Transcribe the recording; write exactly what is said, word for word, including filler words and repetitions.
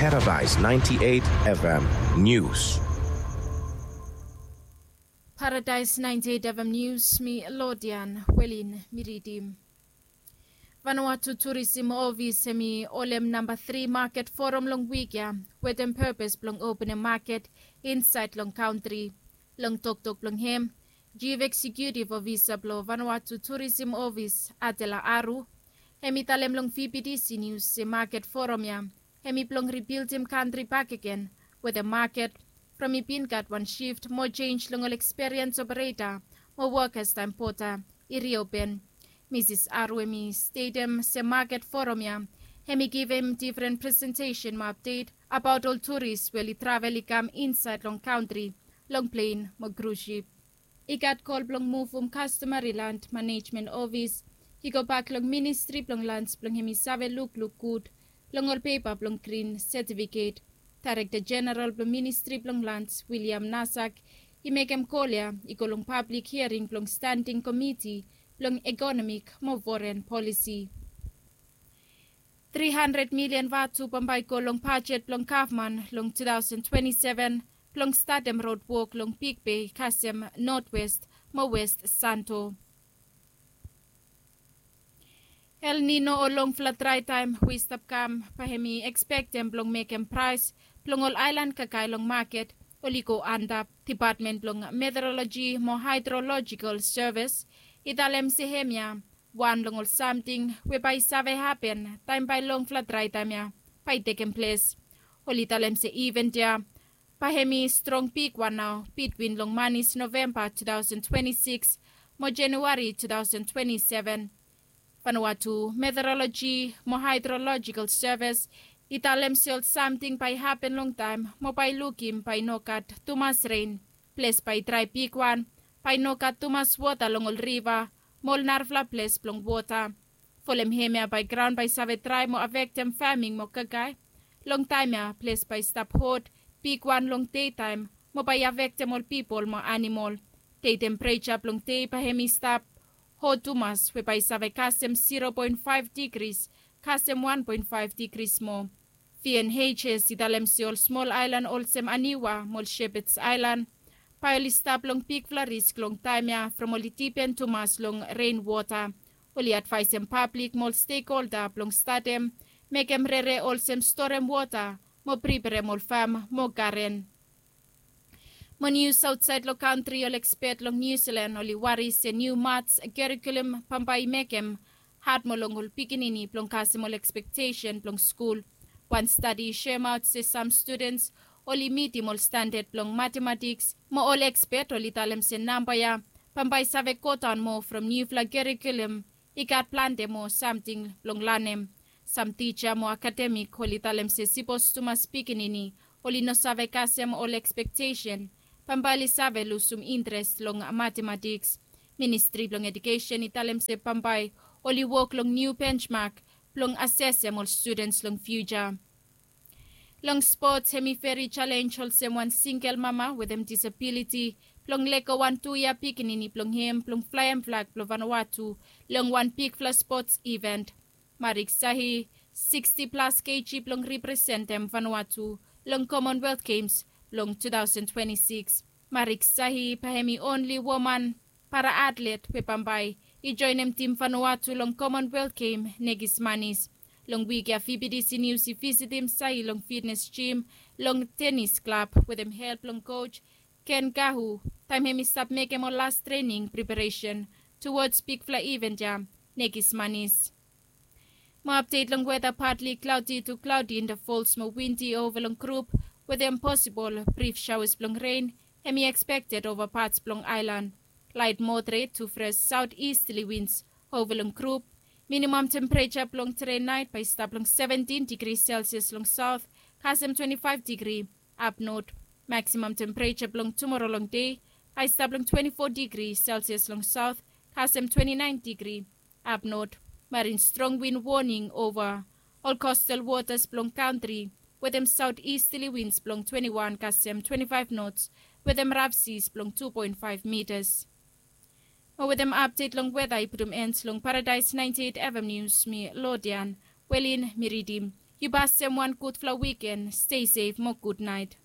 Paradise ninety-eight F M News. Paradise ninety-eight F M News, mi Lodian Welin mi ridim. Vanuatu Tourism Office hemi holem namba three market forum long wik ya wetem purpose blong openem market inside long country. Long toktok blong hem, Chief Executive Officer blong Vanuatu Tourism Office, Adela Aru, hemi talem long V B T C News se market forum ya hemi blong rebuildim country bakegen wetem market from i bin gat wan shift mo change long ol experience operator mo workers taem border i reopen. Mrs Aru hemi statem se market forum ya hemi givim different presentation mo update about ol tourist we oli travel i kam inside long country long plane mo cruise ship. I gat kol blong muvum customary land management office i gobak long ministri blong lands blong hemi save lukluk gud long ol pepa blong grin setifiket. Daerekta jeneral blong ministri blong lands William Nasak i mekem kol ya i go long pablik hiaring blong standing komiti blong ekonomik mo foren polisi. Tri handred milian vatu bambae i go long bajet blong gavman long two thousand twenty-seven blong statem rod wok long Big Bay kasem Northwest mo West Santo. El Nino o longfala drae taem we i stap kam bae hemi ekspektem blong mekem praes blong ol aelan kakae long maket oli go antap. Depatmen blong Meteoroloji mo Haedrolojikal Sevis i talem se hemia wan long ol samting we bae i save hapen taem bae longfala drae taem ya bae i tekem ples. Oli talem se ivent ya bae hemi strong bigwan nao bitwin long manis Novemba two thousand twenty-six mo Januari two thousand twenty-seven. Vanuatu Meteoroloji mo Haedrolojikal Sevis i talem se ol samting bae i hapen longtaem mo bae i lukim bae i no gat tumas ren. Ples bae i drae bigwan, bae i no gat tumas wota long ol riva mo ol narafala ples blong wota. Folem hemia bae graon bae i save drae mo afektem faming mo kakae. Long taem ya ples bae i stap hot bigwan long dei taem mo bae i afektem ol pipol mo anamol. Dei tempereja blong dei bae hemi stap hot tumas we bae i save kasem zero point five degrees kasem one point five degrees moa. VNHS i talem se ol smol aelan olsem Aniwa mo ol Shepherds Aelan bae oli stap long bigfala risk long taem ya from oli dipen tumas long ren wota. Oli advaesem pablik mo ol stekholda blong statem mekem rere olsem storem wota mo priperem ol fam mo garen. Mo nius aotsaed long kantri, ol ekspet long Niu Silan oli wari se niu mats kerikulum bambae i mekem had moa long ol pikinini blong kasem ol ekspektesen blong skul. Wan stadi i soemaot se sam studens oli mitim ol standad blong matematiks mo ol ekspet oli talem se namba ya bambae i save godaon moa from niufala kerikulum i gat plante moa samting blong lanem. Sam tija mo akademik oli talem se sipos tumas pikinini oli no save kasem ol ekspektesen bambae oli save lusum intres long matematiks. Ministri blong edukesen i talem se bambae oli wok long niu benjmak blong asesem ol studens long fiuja. Long spots, hemi veri jalenj olsem wan singel mama wetem disabiliti blong lego wan tu yia pikinini blong hem blong flaem flag blong Vanuatu long wan bigfala spots iven. Marik Sahi, siksti plas keji blong representem Vanuatu long Commonwealth Games blong two thousand twenty-six. Marik Sahi bae hemi onli woman para atlet we bambae i joenem tim Vanuatu long Commonwealth Game nekis manis. Long wik ya VBTC Nius i visitim Sahi long fitnes jim long tenis klab wetem help blong koj Ken Gahu taem hemi stap mekem ol las trening preparesen tuwods bigfala iven ya nekis manis. Mo apdet long weta, patli klaodi tu klaodi in da fols mo windi ova long grup wetem posibol brif shaoas blong ren hemi ekspekted ova pats blong aelan. Laet moderet tu fres saot istli wins ova long grup. Minimam tempereja blong tede naet bae i stap long seventin digri selsias long saot kasem twenti faef digri apnot. Maksimam tempereja blong tumoro long dei bae i stap long twenti fo digri selsias long saot kasem twenti naen digri apnot. Marin strong win woning ova ol kostal wotas blong kantri wetem saot istli wins blong twenti wan kasem twenti faef nots wetem raf sis blong tu poen faef mitas. Mo wetem apdet long weta i putum en long Paradaes naenti eit FM Nius, mi Lodian Welin mi ridim. Yu basim wan gudfala wiken. Stay safe mo gudnait.